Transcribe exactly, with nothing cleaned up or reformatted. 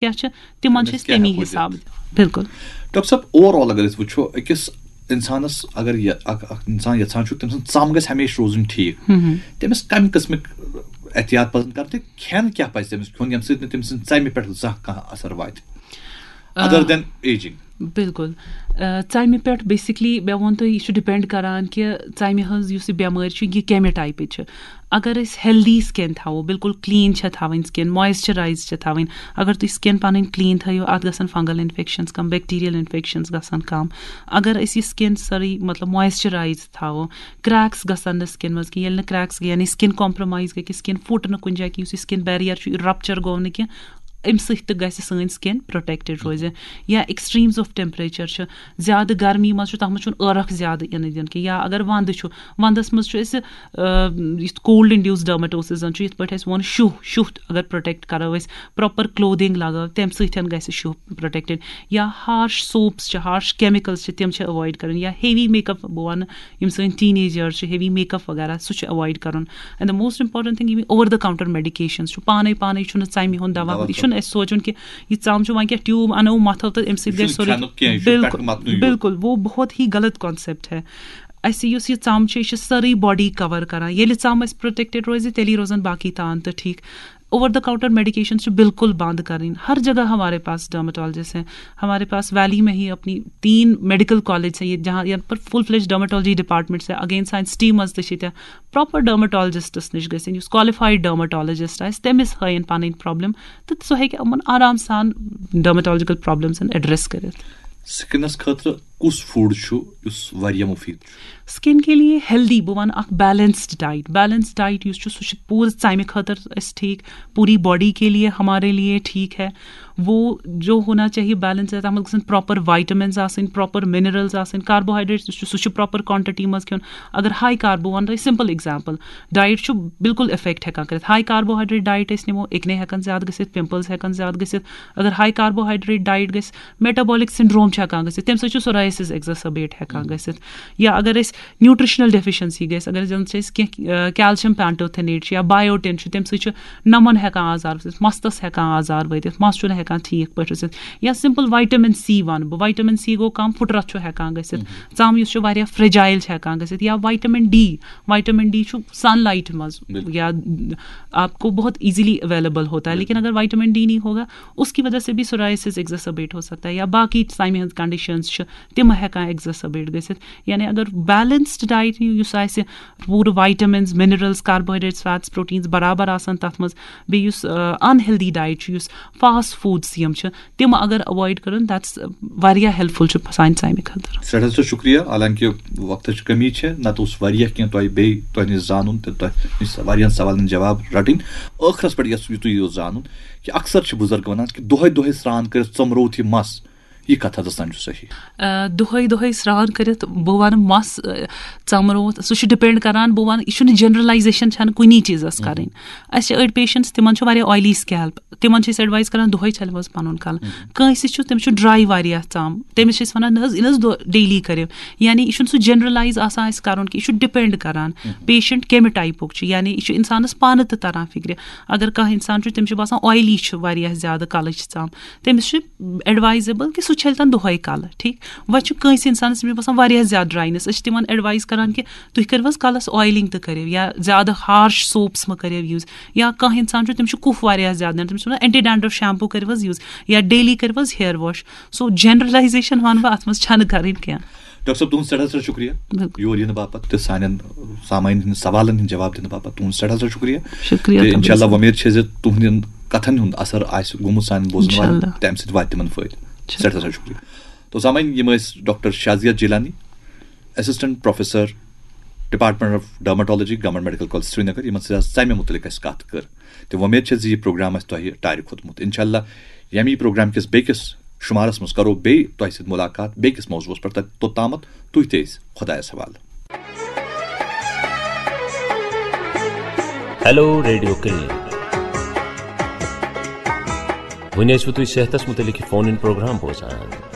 کیٛاہ چھِ، تِمن چھِ أسۍ تمی حساب۔ بالکل۔ ڈاکٹر صٲب، اوور آل اگر أسۍ وٕچھو، أکِس اِنسانَس اگر یہِ اکھ اکھ اِنسان یَژھان چھُ تٔمۍ سٕنٛز ژَم گژھِ ہمیشہِ روزٕنۍ ٹھیٖک، تٔمِس کَمہِ قٕسمٕکۍ احتیاط پَزَن کَرٕنۍ تہٕ کھٮ۪ن کیٛاہ پَزِ تٔمِس کھیوٚن ییٚمہِ سۭتۍ نہٕ تٔمۍ سٕنٛزِ ژَمہِ پٮ۪ٹھ زانٛہہ کانٛہہ اثر واتہِ؟ Other than aging. بالکل۔ ژَمہِ پٮ۪ٹھ بیسکلی مےٚ ووٚن تۄہہِ، یہِ چھُ ڈِپینڈ کران کہِ ژَمہِ ہٕنٛز یُس یہِ بٮ۪مٲرۍ چھِ، یہِ کَمہِ ٹایپٕچ چھِ۔ اگر أسۍ ہیلدی سِکِن تھاوو، بالکل کٕلیٖن چھےٚ تھاوٕنۍ سِکِن، مویسچرایز چھےٚ تھاوٕنۍ۔ اگر تُہۍ سِکِن پَنٕنۍ کٕلیٖن تھٲیِو، اَتھ گژھن فنگل اِنفیکشنز کَم، بیکٹیریل اِنفیکشنز گژھن کَم۔ اگر أسۍ یہِ سِکِن سٲرٕے مطلب مویسچرایز تھاوو، کریکس گژھن نہٕ سِکِن منٛز کینٛہہ۔ ییٚلہِ نہٕ کریکس یعنی سِکِن کامپرومایز گٔے کہِ سِکِن پھُٹ نہٕ کُنہِ جایہِ کینٛہہ، یُس یہِ سِکِن بیریئر چھُ، یہِ رپچر گوٚو نہٕ کینٛہہ، اَمہِ سۭتۍ تہِ گژھِ سٲنۍ سِکِن پروٹیکٹڈ روزِ۔ یا ایکسٹریمز آف ٹیمپریچر چھُ، زیادٕ گرمی منٛز چھُ، تَتھ منٛز چھُنہٕ عٲرق زیادٕ یِنہٕ دیُن کینٛہہ۔ یا اگر وَندٕ چھُ، وَندَس منٛز چھُ اَسہِ یُتھ کولڈ انڈیوس ڈرمٹوسز زَن چھُ، یِتھ پٲٹھۍ اَسہِ ووٚن شُہ، شُہ اگر پروٹیکٹ کرو أسۍ، پراپر کلودنگ لگاو، تَمہِ سۭتۍ گژھِ شُہ پروٹیکٹڈ۔ یا ہارش سوپس چھِ، ہارش کیمکلز چھِ، تِم چھِ ایوائڈ کرٕنۍ۔ یا ہیوی میک اپ، بہٕ وَنہٕ یِم سٲنۍ ٹین ایجٲرس چھِ، ہیوی میک اپ وغیرہ، سُہ چھُ ایوائڈ کرُن۔ And the most important thing، یِم اوور دا کاؤنٹر میڈیکیشنز چھُ، پانے پانے چھُنہٕ ژَمہِ ہُنٛد دوا، یہِ چھُنہٕ اَسہِ سونٛچُن کہِ یہِ ژَم چھُ وۄنۍ کیٛاہ ٹیوب اَنو مَتھو تہٕ اَمہِ سۭتۍ گژھِ سورُے۔ بالکل، بالکل، وہ بہت ہی غلط کانسیپٹ ہے۔ اَسہِ یُس یہِ ژَم چھِ، یہِ چھِ سٲرٕے باڈی کور کران۔ ییٚلہِ ژَم اَسہِ پروٹیکٹڈ روزِ، تیٚلی روزن باقی تان تہٕ ٹھیٖک۔ اوور دا کاؤنٹر میڈیکیشنز چھِ بالکل بند کرٕنۍ۔ ہر جگہ ہمارے پاس ڈرمٹولوجسٹ ہیں، ہمارے پاس ویلی میں ہی اپنی تین میڈیکل کالج ہیں، یہ جہاں یہاں پر فل فلیج ڈرمٹولوجی ڈپارٹمنٹس ہیں۔ اگین سانہِ سٹی منٛز تہِ چھِ تہِ پراپر ڈرمٹولوجسٹس نِش گژھن، یُس کوالیفایڈ ڈرمٹولوجسٹ آسہِ، تٔمِس ہٲیِن پنٕنۍ پرابلم تہٕ سُہ ہیٚکہِ یِمن آرام سان ڈرمٹولوجیکل پرابلمزن ایڈریس کٔرِتھ۔ سِکنَس خٲطرٕ کُس فوڈ چھُ یُس واریاہ مُفیٖد چھُ؟ سِکِن کے لیے ہیلدی، بہٕ وَنہٕ اکھ بیلنسڈ ڈائٹ۔ بیلنسڈ ڈائٹ یُس چھُ، سُہ چھُ پوٗرٕ ژَمہِ خٲطرٕ اَسہِ ٹھیٖک، پوٗری باڈی کے لیے ہمارے لیے ٹھیٖک ہے۔ وہ جو ہونا چاہیے بیلنس ہے، تَتھ منٛز گژھن پراپر وائٹمنز آسٕنۍ، پراپر منرلز آسٕنۍ، کاربوہائیڈریٹس یُس چھُ، سُہ چھُ پراپر کوانٹٹی منٛز کھیوٚن۔ اگر ہائی کاربو، وَنہٕ تۄہہِ سمپل ایگزامپل، ڈائٹ چھُ بالکل افیکٹ ہیٚکان کٔرِتھ۔ ہائی کاربوہائیڈریٹ ڈائٹ أسۍ نِمو، ایکنی ہیٚکن زیادٕ گٔژھِتھ، پمپلز ہیٚکن زیادٕ گٔژھِتھ۔ اگر ہائی کاربوہائیڈریٹ ڈائٹ گژھِ، میٹابولک سنڈروم چھُ ہیٚکان گٔژھِتھ، تَمہِ سۭتۍ چھُ سوریسز ایگزاسبیٹ ہیٚکان گٔژھِتھ۔ یا اگر أسۍ نیوٹریشنل ڈیفیشنسی گژھِ، اگر زن چھِ أسۍ کینٛہہ، آ، کیلشیم پینٹوتھینیٹ چھُ یا بایوٹین چھُ، تَمہِ سۭتۍ چھُ نَمَن ہیٚکان آزار وٲتِتھ، مَستَس ہیٚکان آزار وٲتِتھ، مَس چھُنہٕ ہیٚکان ٹھیٖک پٲٹھۍ روٗزِتھ۔ یا سمپل وائٹمن سی وَنہٕ بہٕ، وائٹمن سی گوٚو کم، پھُٹرَتھ چھُ ہیٚکان گٔژھِتھ، ژَم یُس چھُ واریاہ فریجائل چھُ ہیٚکان گٔژھِتھ۔ یا وائٹمن ڈی، وائٹمن ڈی چھُ سن لائٹ منٛز یا آپ کو بہت ایزیلی اویلیبل ہوتا ہے، لیکن اگر وائٹمن ڈی نہیں ہوگا، اس کی وجہ سے بھی سوریسز ایگزاسبیٹ ہو سکتا ہے یا باقی ژَمہِ ہٕنٛز کنڈیشنز چھِ، تِم ہیٚکان ایگزاسبیٹ گٔژھِتھ۔ یعنی اگر بیلنسڈ ڈائٹ یُس آسہِ، پوٗرٕ vitamins, minerals, carbohydrates, fats, proteins برابر آسان تَتھ منٛز، بیٚیہِ یُس ان ہیلدی ڈائٹ چھُ، یُس فاسٹ فوڈس یِم چھِ، تِم اگر اوائڈ کرن، دیٹس واریاہ ہیلپفل چھُ سانہِ ژَمہِ خٲطرٕ۔ سٮ۪ٹھاہ سٮ۪ٹھاہ شُکریہ، حالانکہِ وقتٕچ کٔمی چھِ، نتہٕ اوس واریاہ کینٛہہ تۄہہِ بیٚیہِ تۄہہِ نِش زانُن تہٕ تۄہہِ نِش واریاہن سوالن ہٕنٛدۍ جواب رٹٕنۍ۔ ٲخرس پٮ۪ٹھ یژھ یِتُے یوت زانُن کہِ اکثر چھِ بُزرگ ونان کہِ دۄہے دۄہے سرٛان کٔرِتھ ژۄمرووُتھ یہِ مس، یہِ کتھ حظ تام چھُ صحیح؟ آ، دۄہے دۄہے سرٛان کٔرِتھ، بہٕ ونہٕ مس، آ، ژۄمرووُتھ، سُہ چھُ ڈِپینڈ کران، بہٕ ونہٕ، یہِ چھُنہٕ جنرلایزیشن چھنہٕ کُنی چیٖزس کرٕنۍ۔ اسہِ چھِ أڑۍ پیشنٹس، تِمن چھُ واریاہ آیلی سکیلپ، تِمن چھِ أسۍ ایڈوائز کران دۄہے چھلو حظ پنُن کلہٕ۔ کٲنٛسہِ چھُ، تٔمِس چھُ ڈراے واریاہ ژم، تٔمِس چھِ أسۍ ونان، نہ حظ، یہِ نہ حظ دۄہ ڈیلی کٔرِو۔ یعنی یہِ چھُنہٕ سُہ جنرلایز آسان اسہِ کرُن کہِ یہِ چھُ ڈِپینڈ کران پیشنٹ کمہِ ٹایپُک چھُ۔ یعنی یہِ چھُ انسانس پانہٕ تہِ تران فکرِ۔ اگر کانٛہہ انسان چھُ، تٔمِس چھُ باسان آیلی چھُ واریاہ زیادٕ کلٕچ ژم، تٔمِس چھُ ایڈوائزیبل کہِ سُہ چھلہِ تن دۄہے کلہٕ، ٹھیٖک۔ وۄنۍ چھُ کٲنٛسہِ انسانس، تٔمِس چھُ باسان واریاہ زیادٕ ڈراینس، أسۍ چھِ تِمن ایڈوائز کران کہِ تُہۍ کٔرِو حظ کلس آیلنگ تہِ کٔرِو، یا زیادٕ ہارش سوپس مہ کٔرِو یوز۔ یا کانٛہہ انسان چھُ، تٔمِس چھُ کُف واریاہ زیادٕ نیران، تٔمِس چھِ ونان اینٹی ڈینڈرف شیمپو کٔرِو حظ یوز، یا ڈیلی کٔرِو حظ ہیئر واش۔ سو جنرلایزیشن ونہٕ بہٕ اتھ منٛز چھنہٕ کرٕنۍ کینٛہہ۔ ڈاکٹر صٲب، تُہُنٛد سٮ۪ٹھاہ سٮ۪ٹھاہ شُکریہ۔ بِلکُل۔ یور یِنہٕ باپتھ تہٕ سانٮ۪ن سامعیٖن ہٕنٛدٮ۪ن سوالن ہٕنٛدۍ جواب دِنہٕ باپتھ تُہُنٛد سٮ۪ٹھاہ سٮ۪ٹھاہ شُکریہ۔ شُکریہ تہٕ تُہُنٛد۔ انشاءاللہ وۄمید چھِ زِ تُہٕنٛدٮ۪ن کتھن ہُنٛد اثر آسہِ گوٚمُت سانٮ۪ن بوزن والٮ۪ن، انشاءاللہ۔ تہٕ امہِ سۭتۍ واتہِ تِمن فٲیدٕ۔ انشاءاللہ۔ سٮ۪ٹھاہ سٮ۪ٹھاہ شُکریہ۔ تو سامعیٖن، یِم ٲسۍ doctor Shazia Jilani, assistant professor, department of dermatology, government medical college Srinagar, یِمن سۭتۍ حظ ژمہِ مُتعلق اَسہِ کتھ کٔر۔ تہٕ وۄمید چھےٚ زِ یہِ پروگرام آسہِ تۄہہِ ٹارِ کھوٚتمُت۔ انشاءاللہ ییٚمی پروگرام کِس بیٚکِس شُمارس منٛز کرو بیٚیہِ تۄہہِ سۭتۍ مُلاقات بیٚکِس موضوعس پٮ۪ٹھ۔ تہٕ توٚتامتھ تُہۍ تہِ ٲسۍ خۄدایس حوالہٕ۔ Hello radio clinic. وۄنۍ ٲسوٕ تُہۍ صحتس مُتعلق یہِ فون اِن پروگرام بوزان۔